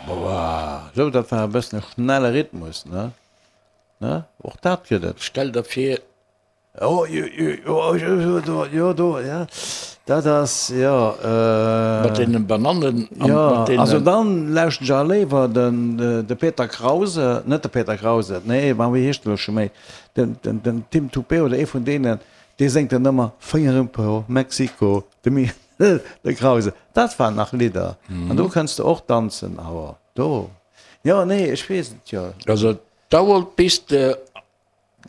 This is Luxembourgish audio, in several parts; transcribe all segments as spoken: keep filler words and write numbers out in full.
Boah, sou, dat war e bëssen e schnelle Rhythmus, ne? Ne? Och dat gëtt et. Stell der vir. Oh, jo, jo, jo, do, jo, do, ja. Dat ass, jo. Äh, Mat deenen Banannen an jo, mat deenen. Also dann lauschten ech awer léiwer den, de Peter Krause, net de Peter Krause, nee, ma wéi heescht en elo scho méi, den, den, den Tim Toupet oder ee vun deenen, dee séngt dann ëmmer Fénger im Po, Mexiko, de Mi, de Krause. Dat waren nach Lidder. An do kënns de och danzen, awer do, jo, nee, ech weess et jo. Also et dauert bis de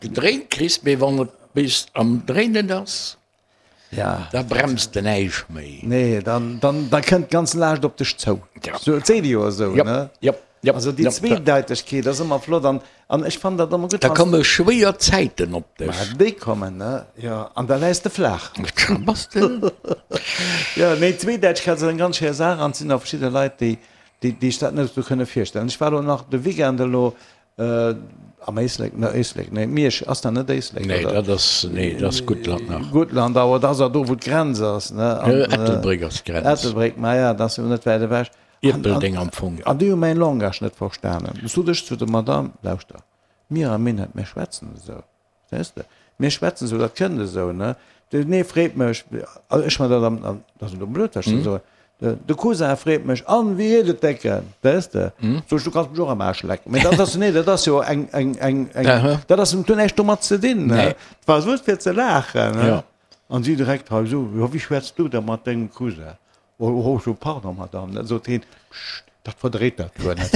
gedréint kriss, mee wann et bis am Dréinen ass, ja. da bremst de näischt méi. Nee, dann, dann, da kënnt d'ganz Laascht op dech zou. Ja. So, et seet ee jo esou, Jop, ne? jop, jop, Also déi jop. Zweedeitegkeet ass ëmmer flott an, an ech fannen dat ëmmer gutt, Da wann s. komme schwéier Zäiten op Ma dech. déi kommen, ne? Jo, an da läis de flaach. Da bass de. Jo, nee, d'Zweedeitegkeet ass eng ganz schéi Saach an et sinn och verschidde Leit, déi, déi, déi sech dat net esou kënne virstellen. Ech war elo nach de Weekend elo Am Éislek, ne Éislek, nee Miersch, ass dat net Éislek, Nee, oder? dat ass, nee, dat ass Guttland nach. Guttland, awer dat ass jo do, wou d'Grenz ass, ne? An, Ettelbréck ass d'Grenz. Ettelbréck, ma ja, dat ass jo net wäit ewech. An, an, Ierpeldeng am Fong. an déi hu mäin Langage net verstanen. Du sot ech zu der Madame, Lauschter, mir am Minett, mir schwätzen esou. Verstees de? Mir schwätzen esou, dat kënnt esou, ne? Den ee freet mech, also ech man dat am, am, dat ass elo blöd, wat ech do soen, de, de Cousin freet mech, An, wéi geet et, Décken? Verstees de? Sot ech, du kanns mech och am Aarsch lecken. Mee dat ass, nee, dat ass jo eng, eng, eng, eng, dat ass, dat huet näischt domat ze dinn, ne? Dat war just fir ze laachen, ne? An si direkt hei esou, Jo, wéi schwätz du da mat dengem Cousin? Oh, oh, so, pardon, Madame. Da sot hien, Pscht, dat verdréit dat guer net.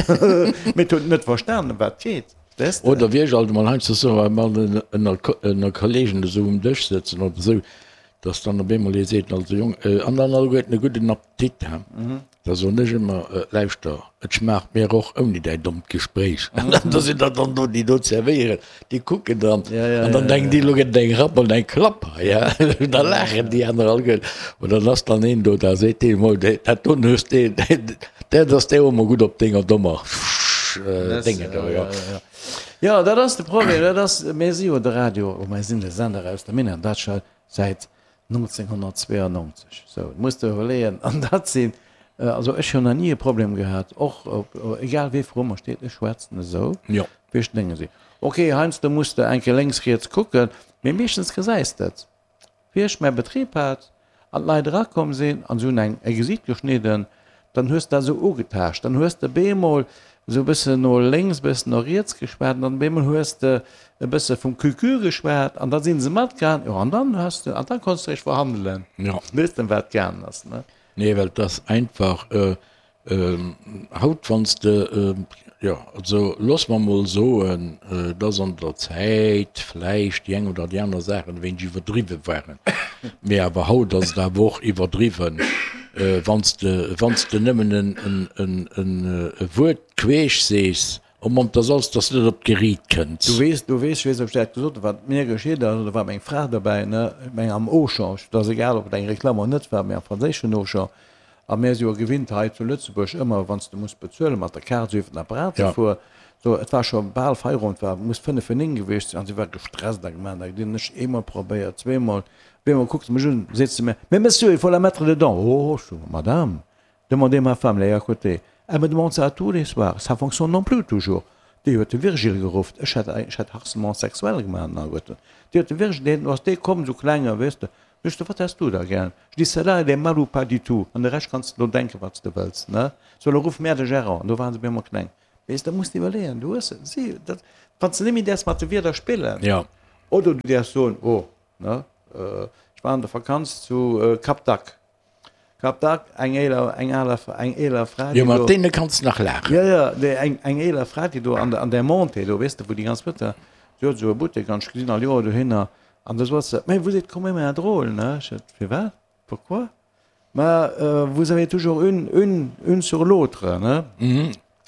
Mee et huet net verstanen, ëm wat et geet, weess de. Oder wéi ech alt emol heiansdo soen, wa mer ënner, ënner Kollegen esou um Dësch sëtzen oder esou, dass dann op eemol ee seet, also Jong, an dann alleguerten e gudden Appetit, he. Da soen ech ëmmer, Lauschter, et schmaacht mir och ouni däi dommt Gespréich. An da sinn der dann do, déi do zerwéieren, déi kucken dann an dann denken déi, elo gëtt et eng Rapp an eng Klapp hei, he. Da laachen déi aner alleguerten. Oder dann ass dann een do, da seet deen emol, dat doen hues de, dat ass der emol gutt op denger dommer Dénge do, jo. Jo, dat ass de Problem, dat ass, mir si jo de Radio, oh, mir sinn de Sender aus der Minett, dat scho säit nonzénghonnertzweeanonzeg. Sou, et muss de iwwerleeën, an dat sinn, also ech hunn nach ni e Problem gehat, och op, egal wee vru mer steet, ech schwätzen esou, Jo. wéi ech d'Dénge sinn. Ok, heiansdo muss de eng Kéier lénks, riets kucken, mee meeschtens gesäis de et. Wéi ech mäi Betrib hat an d'Leit erakomm sinn an se hunn eng e Gesiit geschnidden, dann hues de dat esou ugetaascht, dann hues de bemol esou e bëssen no lénks, e bëssen no riets geschwat an dann bemol hues de e bësse vum Cucu geschwat an da si se matgaang. Jo, an dann has de, an dann konns de réischt verhandelen, Jo. weess de, ëm wat et gaangen ass, ne? Nee, well et ass einfach, haut wann s de, jo, also looss mer emol soen, dass an der Zäit vläicht déi eng oder déi aner Saachen e wéineg iwwerdriwwe waren, mee awer haut ass et awer och iwwerdriwwen, wann s de, wann s de nëmmen e Wuert queesch sees, oh Mann, 't ass alles, dass de net op d'Geriit kënns. Du weess, du weess, ech weess net, ob ech dat gesot hunn, wat mir geschitt ass, do war meng Fra dobäi, ne, ech meng am Auchan, et ass egal, ob et eng Reklamm oder net war, mee am franséischen Auchan, a mir si jo gewinnt hei zu Lëtzebuerg ëmmer, wann s de muss bezuelen, mat der Kaart esou iwwer den Apparat ze Ja. fueren. So, et war scho bal Feierowend, war, muss fënnef vir néng gewiescht sinn, an si war gestresst a gemaach, da hunn ech eemol probéiert, zweemol, op eemol kuckt se mech un, seet se mir, Mais monsieur, il faut la mettre dedans. Oh, ech so, Madame, demandez ma femme, elle est à côté. Elle me demande ça tous les soirs, ça fonctionne non plus toujours. Déi huet de Virgile geruff, ech hätt, ech hätt Harcèlement sexuel gemaach an alleguerten. Déi huet de Virgile, deen ass dee komm, sou klenge, weess de. Sot ech, wat häss du da gär? Je dis, celle-là, elle est mal ou pas du tout. An de Rescht kanns de do denken, wat s de wëlls, ne? Sou, elo ruff mär de Gérant. An do waren se op eemol kleng. Weess, da muss de iwwerleeën, du hues si, dat, wann s de net méi däerfs mat de Wierder spillen. Jo. Oder du däerfs soen, oh, ne, ech war an der Vakanz zu Cap d'Agde. Cap d'Agde, eng eeler, eng aler, eng eeler Fra, Jo, déi mat do. deene kanns de nach laachen. Jo, jo, déi, eng, eng eeler Fra, déi do an der, an där Montée do, weess de, wou déi ganz Wëtter, si huet esou e Buttek an ech gesinn all Joer dohinner an da sot se, Mais vous êtes quand même un drôle, ne? Ech sot, Firwat? Pourquoi? Ma vous avez toujours une, une, une sur l'autre, ne?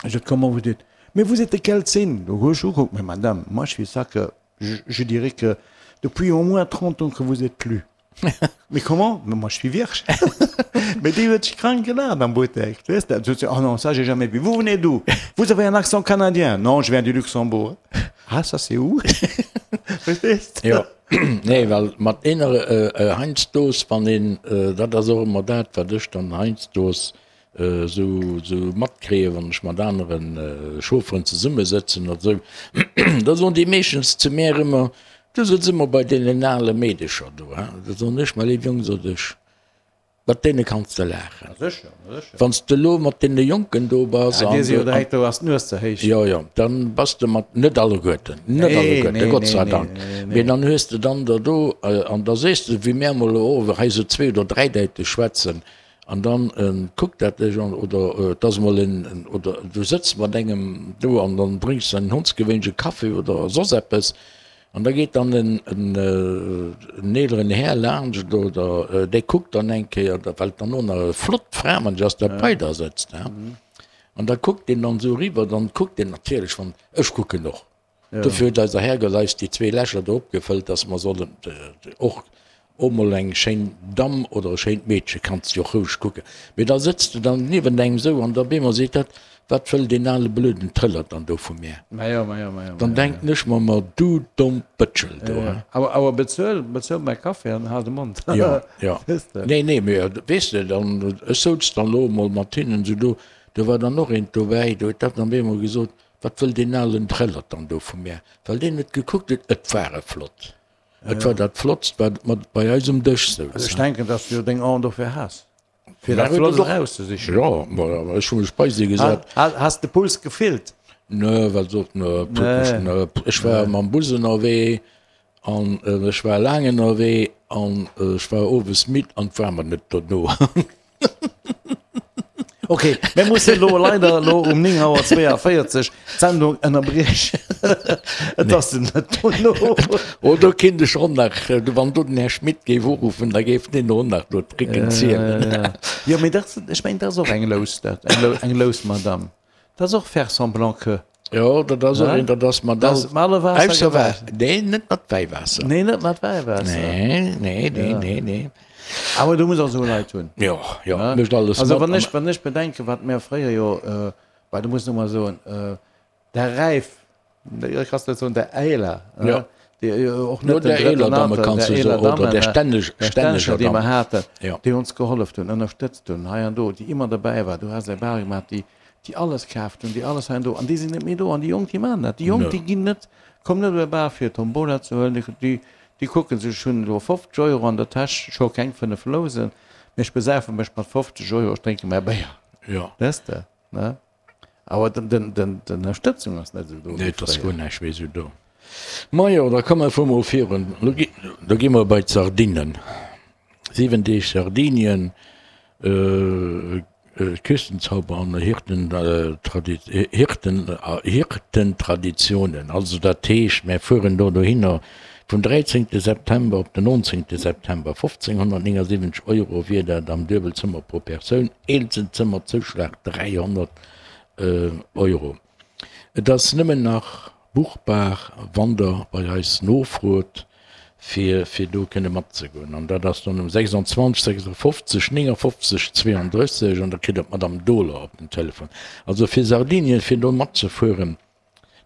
Ech sot, Comment vous dites? Mais vous êtes de quel signe? Do hu ech ugekuckt, Mais Madame, moi je suis ça que, je, je dirais que depuis au moins trente ans que vous êtes plus. Mais comment? Mais moi je suis vierge. Mais déi huet sech krank gelaacht am Buttek, weess de. Sot se, oh non, ça j'ai jamais vu. Vous venez d'où? Vous avez un accent canadien. Non, je viens du Luxembourg. Ah, ça c'est où? Verstees de? Jo, nee, well mat eener heiansdo, wann een, dat ass och ëmmer dat, wat ech dann heiansdo esou esou matkréien, wann ech mat anere Chaufferen zesummesëtzen oder esou, da soen déi meeschtens zu mär ëmmer, Du sëtz ëmmer bei deenen ale Meedecher do, hein? Da soen ech, Mä léif Jong, sot ech, mat deene kanns de laachen. Wann s de elo mat deene Jonken do bass an. Jo, jo, dann bass de mat, net alleguerten, net alleguerten, Gott sei Dank, mee dann hues de dann der do, an da sees de, wéi mär emol elo hei esou zwee oder dräidäiteg schwätzen, An dann kuckt dat dech an, oder et ass emol en, oder du sëtz mat engem do an dann drénks de en hondsgewéinleche Café oder soss eppes, an da geet dann en en eeleren Här laanscht oder dee kuckt dann eng Kéier, well et dann och nach e flott Fra manch ass, dat bei der sëtzt, hein, an da kuckt deen dann esou eriwwer, dann kuckt deen natierlech, wann, ech kucken och. Dofir huet eiser Herrgott eis déi zwee Lächer do opgefëllt, dass mer sollen och och mol eng schéin Damm oder e schéint Meedche kanns de jo och roueg kucken. Mee da sëtz de dann niewent engem esou an da op eemol seet dat, Wat wëll deen ale blöden Trëllert dann do vu mär? Dann denken ech mer, Ma du domm Bëtschel do, he? Awer bezuel, bezuel mäi Café an hal de Mond. Jo, jo. Nee, nee, mee weess de, dann, ech souz dann elo emol mat hinnen esou do, do war dann och eent dobäi, do huet dat dann op eemol gesot, Wat wëll deen alen Trëllert dann do vu mär? Well deen huet gekuckt, et, et war e flott. Et war dat Flottst, wat mat bei eis um Dësch souz. Also ech denken, dass du jo deng Aen dofir has, fir dat Flott erauszesichen. Jo, ma ech hu mech bei si gesat. Has de Puls gefillt? Nö, well sot, nö, nö. Ech war mam Bus ënnerwee an ech war laang ënnerwee an ech war owes midd an et war mer net dono. Ok, mir mussen elo leider elo um néng Auer zweeënvéierzeg d'Sendung ënnerbriechen. Et ass net dono. Oh, do kinnt ech och nach, wann do den Här Schmit géif uruffen, da géif deen och nach do d'Tricken zielen. Jo, mee dat, ech mengen, dat ass och eng Lous, dat, eng Lous Madame. Dat ass och faire semblant que. Jo, dat ass och een, dat ass mat all, ausser Wa, nee, net mat Wäiwaasser. Nee, net mat Wäiwaasser. Nee, nee, nee, nee, nee. Awer du muss och esou Leit hunn. Jo, jo, mécht alles mat. Also wann ech, wann ech bedenken, wat mär fréier jo, well du muss nu mol soen, der Räif, kanns net soen, der Äiler, jo, déi och net den drëtten Alter, der eeler Damme, der stänneger, déi mer haten, déi ons gehollef hunn, ënnerstëtzt hunn, hei an do, déi ëmmer derbäi war, du has eng Bar gemaach, déi, déi alles kaaft hunn, déi alles hei an do, an déi sinn net méi do, an déi Jonk, déi maachen dat, déi Jonk, déi ginn net, kommen net op e Bar fir Tombola ze huelen, déi, déi kucke sech, ech hunn elo fofzeg Euro an der Täsch, ech hu keng fënnef Lousen, mee ech besäife mech mat fofzeg Euro, ech drénke mäi Béier, weess de, ne? Awer d'Ënnerstëtzung ass net esou do wéi fréier. Nee, et ass guer näischt méi esou do. Majo, da komme mer mol virun. Lo gi mer bei d'Sardinen. Siwen Deeg Sardinien, Küstenzauber an Hirtentraditionen. Also dat heescht, mär fueren do dohinner vum dräizéngte September op den nonzéngte September. fofzénghonnertnéngasiwwenzeg Euro wier dat am Duebelzëmmer pro Persoun, Eenzelzëmmerzouschlag dräihonnert Euro. Et ass nëmmen nach buchbar, wann der bei eis nofrot, fir fir do kënne matzegoen. An dat ass dann um sechsundzwanzeg, sechsundfofzeg, néngundfofzeg, zweeundrësseg an da kritt der d'Madame Dohler op den Telefon. Also fir Sardinien, fir do matzefueren,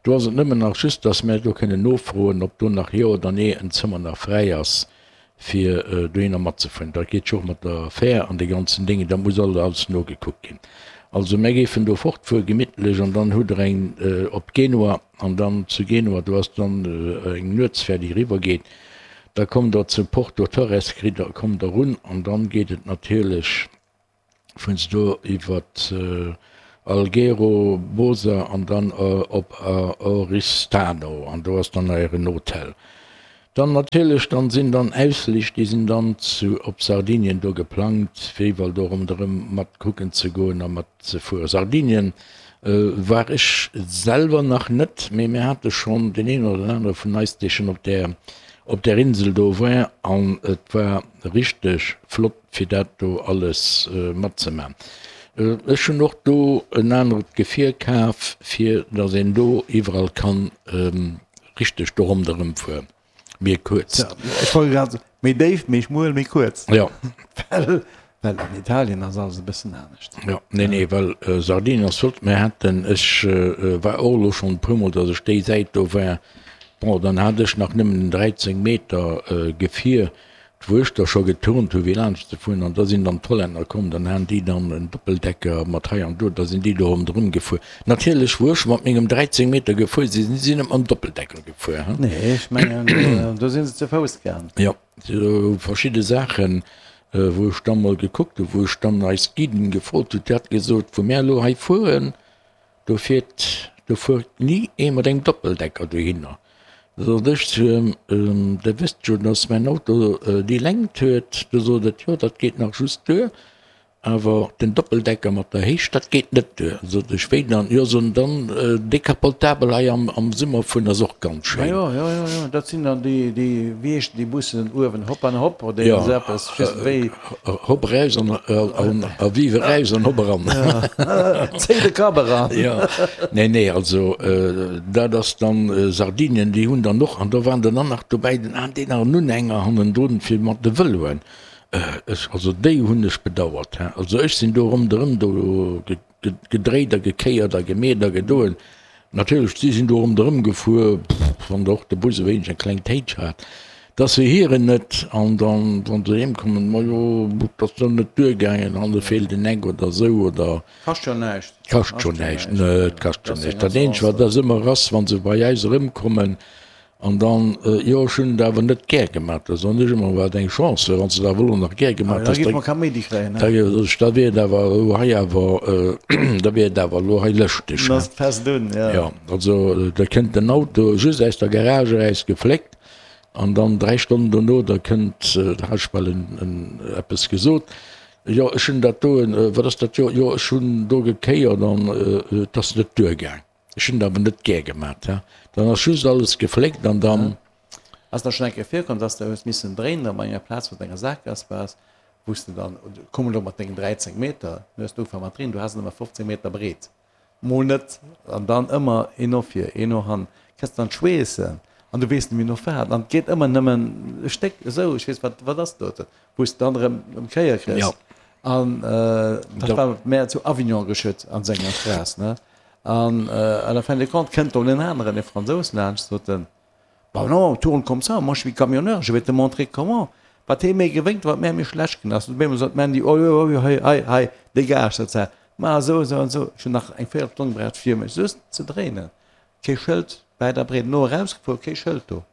do ass et nëmmen nach just, dass mär do kënnen nofroen, ob do nach jo oder nee en Zëmmer nach fräi ass, fir dohinner matzefueren. Dat geet jo och mat der Fähr an de ganzen Déngen, dat muss alles nogekuckt ginn. Also mär géifen do fortfuere gemittlech an dann hutt der eng op Genua an dann zu Genua, do ass dann eng Nuetsfähr déi eriwwer geet, da kommt der zu Porto Torres, kritt der, kommt der un an dann geet et natierlech vun do iwwer Alghero, Bosa an dann op Oristano an do ass dann eieren Hotel. Dann natierlech, dann sinn dann Ausflich, déi sinn dann zu op Sardinien do geplangt, fir iwwerall do ronderëm mat kucken ze goen a mat ze fueren. Sardinien war ech selwer nach net, mee mir hate schonn deen een oder den anere vun eis, dee schonn op där op där Insel do war an et war richteg flott fir dat do alles matzemaachen. Ech hunn och do en anert Gefier kaf, fir datt een do iwwerall kann richteg do ronderëm fueren, méi kuerz. Ech wollt grad soen, méi déif, méi schmuel, méi kuerz. Jo. Well, well an Italien ass alles e bëssen anescht. Jo, nee, nee, well Sardinien ass flott. Mir haten, ech war och elo schonn e puermol, datt ech déi Säit do war. Bon, dann hat ech nach nëmmen en dräizéng Meter Gefier. D'Wurschter scho geturnt hu wéi laanscht ze fueren an da sinn dann d'Hollänner komm, dann han déi dann en Doppeldecker mat hei an do, da sinn déi do ronderëm gefuer. Natierlech wou ech mat mengem dräizéng Meter gefuer sinn, si si net mam Doppeldecker gefuer, he. Nee, ech mengen do si se zu Fouss gaang. Jo, sou verschidde Saachen, wou ech dann mol gekuckt hu, wou ech dann eis Guiden gefrot hu, déi hat gesot, wou mär elo hei fueren, Do fiert, do fuert ni ee mat engem Doppeldecker dohinner. Da sot ech zu em, Der wësst jo, dass mäin Auto déi Längt huet. Du sot et, Jo, dat geet nach just duer, awer den Doppeldecker mat der Héicht, dat geet net duer. Sot ech, Wéi dann? Jo, sot en, dann décapotable hei am Summer fueren ass och ganz schéin. Jo, jo, jo, jo, dat sinn dann déi, déi, wéi heeschen déi Bussen uewen, Hop an Hop oder iergend esou eppes, ech weess net wéi. Hopp eraus an a vive eraus an hopp eran. Zéi de Kapp eran. Jo, nee, nee, also dat ass dann Sardinien, déi hunn dann och, an do waren dann och nach dobäi den an deen nach en Unhänger hannendrun fir mat de Vëloen. Ech, also déi hunn ech bedauert, he. Also ech sinn do ronderëm do gedréit a gekéiert a gemeet a gedoen. Natierlech, si sinn do ronderëm gefuer, wann der och de Bus e wéineg eng kleng Téitsch hat, dass se hiren net, an dann, wann se heem kommen, majo, et ass do net duergaangen, hanne feelt en Eck oder esou, oder. Kascht jo näischt. Kascht jo näischt, net, kascht jo näischt. Dat eenzegt, wat ass ëmmer ass, wa se bei äis erëmkommen, An dann, jo, ech hunn et awer net gär gemaach, da soen ech ëmmer, wat eng Chance, wann s de et awer elo nach gär gemaach häss, da, da wier et awer elo hei awer, da wier et awer elo hei lëschteg. Dann ass et fest un, jo. Jo, also da kënnt den Auto just aus der Garage eraus gefléckt an dann dräi Stonnen dono, da kënnt, da hat ech bal en, en, eppes gesot, jo, ech hunn dat doen, wat ass dat, jo, jo, ech hunn do gekéiert an et ass net duergaang. Ech hunn et awer net gär gemat, he. Dann ass just alles gefléckt an dann. Ass der schonn eng Kéier virkomm, dass de hues missen dréinen op enger Plaz, wou s de enger Saakgaass waars, wou s de dann, komm elo mat dengen dräizéng Meter, du hues ugefaangen mat dréinen, du has en ëmmer fofzéng Meter breet, mol net, an dann ëmmer een no vir, een no hannen, kriss dann d'Schweessen an du weess net méi no wat, an et geet ëmmer nëmmen e Stéck esou, ech weess wat, wat ass doten, wou s de dann erëm ëm d'Kéier kriss. An dat war mär zu Avignon geschitt an senger Straass, ne. An à la fin des comptes kënnt do en aneren, e Fransous laanscht, sot en, Bah non, tourne comme ça, moi je suis camionneur, je vais te montrer comment. Wat hee méi gewénkt, wat mär méi schlecht ginn ass. Op eemol sot d'Mandy, Oh jo, oh jo, hei, hei, hei, dégage, sot se, maach esou, esou an esou. Ech hunn nach eng Véierelstonn gebraucht, fir mech just ze dréinen. Kee Schëld wäit a breet. No erausgefuer, kee Schëld do.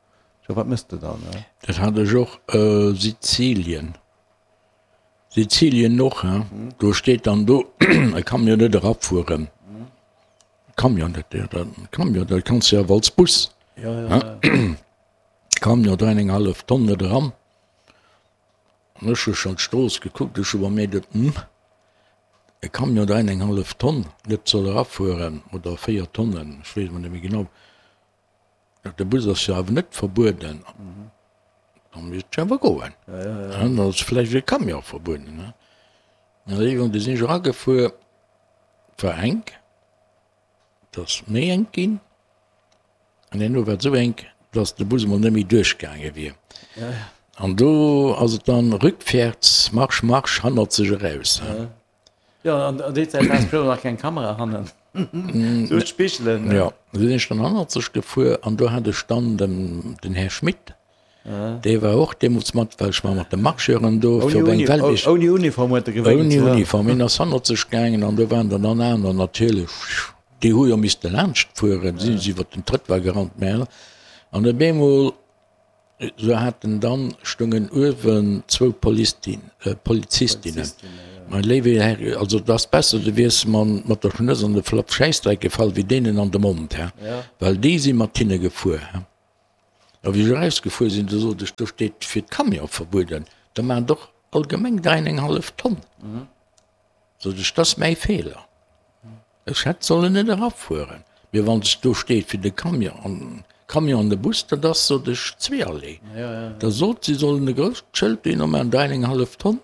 Scho, wat mëss de dann, ne? Dat hat ech och, Sizilien. Sizilien och, hein, do steet dann do e Camion net erafueren. Camion, dat, dat, Camion, dat kanns de awer als Bus, hein, Camion dräi an eng hallef Tonn net eran. An ech hu schonn d'Strooss gekuckt, ech hu bei mir geduet, hm, e Camion dräi an eng hallef Tonn net soll erafueren oder véier Tonnen, ech weess emol net méi genau. De Bus ass jo awer net verbueden. Da misst ech awer goen. Dann ass vläicht e Camion verbueden. An iergendwann, du sinn ech eragefuer, et war enk, et ass méi enk ginn. An herno war et esou enk, datt de Bus emol net méi duerchgaange wier. An do ass et dann rückwärts, Marsch, Marsch, hannerzeg eraus. Jo, an déi Zäit hat ech nach keng Kamera hannen, just Spigelen. Jo, du sinn ech dann hannerzeg gefuer an do hat ech dann den, den Här Schmit, dee war och deemools mat, well ech war mat de Marcheuren do fir op eng Weltmeesch. Ouni Uniform huet e gewénkt. Ouni Uniform, hien ass hannerzeg gaangen an do waren dann dann aner natierlech, déi hu jo misste laanscht fueren, sinn se iwwer den Trëttoir gerannt, mä an op eemol Sou haten dann, stungen uewen zwou Polizistinnen. Mein léiwe Här, also et ass besser du wiers mat der Schnëss an de Flapp Schäissdreck gefall wéi deenen an de Mond, hä? Well déi si mat hinne gefuer, hä? A wéi ech erausgefuer sinn, du sot ech, do steet fir d'Camion verbueden, da maachen der och allgemeng dräi an eng hallef Tonn. Sot ech, dat ass mäi Feeler. Ech hätt sollen net erafueren. Mee wann s do steet fir de Camion an Camion an de Bus, dat ass, sot ech, zweeërlee. Da sot si sollen e grousst Schëld dohinner maachen, dräi an eng hallef Tonn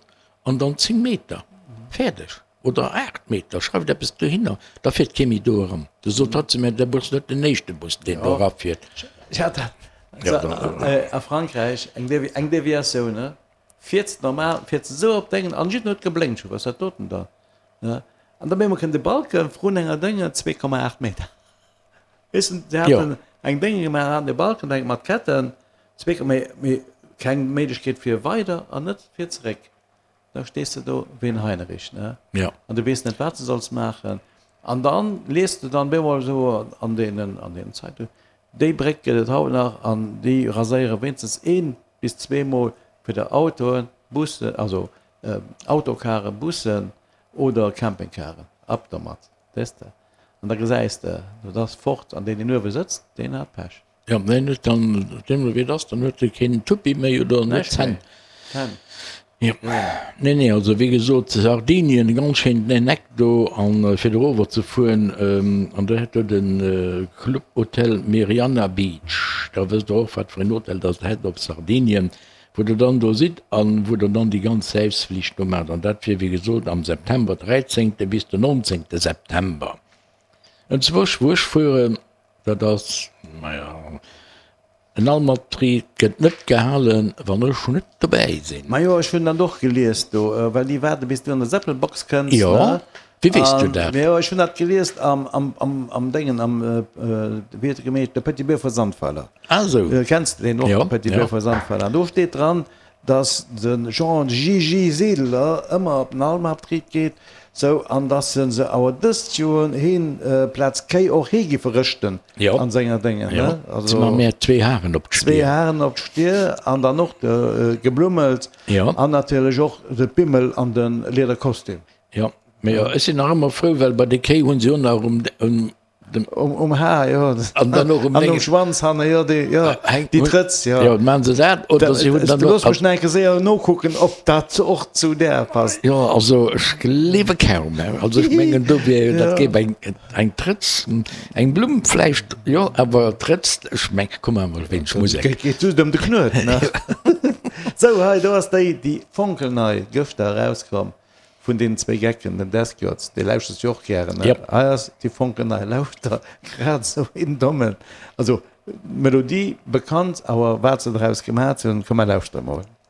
an dann zéng Meter. Fäerdeg. Oder aacht Meter, schreift eppes dohinner, da fiert kee méi do eran. Du sot hatt zu mir, de Bus, net den éischte Bus, deen do erafiert. A Frankräich eng Deviatioun, ne? Fiers normal, fiers esou op d'Engen an jidden huet geblénkt, scho was dat doten da, ne? An da op eemol kënnt e Balken vrun enger Dénge, zwee Komma aacht Meter. Weess de, se haten eng Dénge gemaach, haten e Balken, eng mat Ketten, zwee Komma, mee, mee Keng Méiglechkeet fir weider an net fir zeréck. Da stees de do wéi en Heinerich, ne? Ja. An du weess net, wat de solls maachen. An dann liest de dann bemol esou an deenen, an deenen Zeitungen, déi Bréck gëtt et haut nach an déi raséiere wéinstens een bis zweemol fir der Autoen, Bussen, also Autocaren, Bussen oder Campingcaren. Ab domat, weess de. An da gesäis de, dat ass fort an deen, deen uewe sëtzt, deen hat Pech. Jo, deen huet dann, deemno wéi et ass, dann huet e keen Tuppi méi oder net Zänn. Zänn. Jo. Nee, nee, also wéi gesot, Sardinien, e ganz schéinen Eck do, an fir erover ze fueren, an do hätt do de Club Hotel Meriana Beach, da wësst Der och, wat fir en Hotel dass Der hätt op Sardinien, wou Der dann do sidd an wou Der dann déi ganz Säifsflicht do maacht. An dat wier, wéi gesot, am September, dräizéngte bis den nonzéngte September. Enzwousch, wou ech fueren, dat ass, maja, en Almabtrieb gëtt net gehalen, wann ech net dobäi sinn. Majo, ech hunn dat och gelies do, well déi waarde bis du an der Seppelbox kënns, Jo, ne? wéi weess du dat? Majo, ech hunn dat gelies am, am, am, am Déngen, am, wéi huet e gemeet, de Petit Beurre vu Sandweiler. Ah esou. Kenns de deen och, Jo, de Petit jo. Beurre vu Sandweiler? An do steet dran, dass de Jean Gigi Sedeler ëmmer op den Almabtrieb geet, sou, an dass se se awer dëst Joer heen plaz Kéi och hee giffe rëschten an senger Déngen, ne? Also ma mär zwee Haren op d'Stier. Zwee Haren op d'Stier an dann och de geblummelt an natierlech och de Pimmel an de Liederkostüm. Jo, mee ech sinn nach ëmmer frou, well bei de Kéi hunn se jo nach um Dem um Haar, jo. An dann och um An um Schwanz hanne, jo, déi, jo, déi Trëtz, jo. Jo, maachen se dat oder si hunn dann och. Looss mech nach eng Kéier séier nokucken, ob dat och zu där passt. Jo, also ech gleewe kaum, also ech mengen do wier, dat géif eng, eng Trëtz, eng Blumm vläicht, jo, awer Trëtz, ech meng, komm maache mer e wéineg Musek. Geet, geet just ëm de Knuet, ne? Sou, hei, do ass déi, déi fonkelnei gëschter erauskomm. Vun deenen zwéi Gecken, den Desciots, dee lauschters du jo och gären, ne? Yep. Hei ass déi fonkelnei, lauschter, grad esou een dommen, also Melodie bekannt, awer wat se draus gemat hunn, komm mer lauschtere mol.